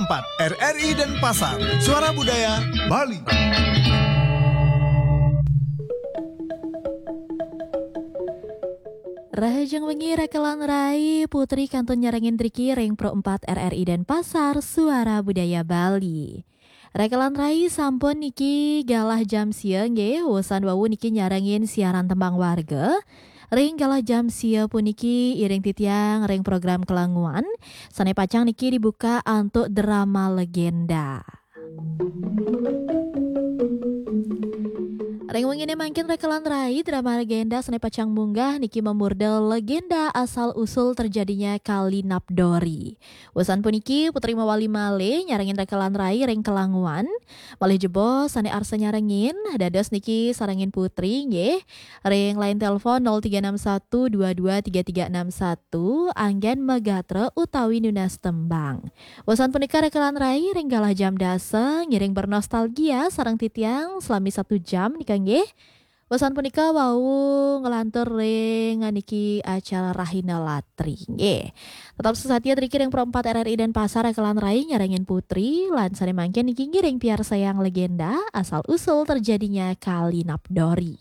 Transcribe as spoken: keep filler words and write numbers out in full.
empat R R I Denpasar, Suara Budaya Bali. Rahajeng wengi rekelan rai, Putri kantun nyarengin driki ring Pro empat R R I Denpasar, Suara Budaya Bali. Rekelan rai, sampun niki galah jam sia nggih, wusan wau niki nyarengin siaran tembang warga. Ring galah jam sia puniki iring titiang ring program kelanguan, sane pacang niki dibuka antuk drama legenda. Ring wengine mangkin rekelan rai, drama legenda sane pacang munggah niki mamurda legenda asal usul terjadinya Kali Napdori. Wusan puniki Putri mawali malih nyarengin rekelan rai ring kelanguan. Malih jebos sane arsa nyarengin, dados niki sarengin Putri nggih. Ring line telepon nol tiga enam satu dua dua tiga tiga enam satu, anggen magatra utawi nunas tembang. Wusan punika rekelan rai ring galah jam dasa ngiring bernostalgia sareng titiang selami satu jam nika nggih. Wusan punika wau nglantur ring niki acara Rahina Latri nggih. Tetap sesatia driki ring Pro empat R R I Denpasar, rekelan rai nyarengin Putri, lan sane mangkin niki ngiring piarsayang legenda asal usul terjadinya Kali Napdori.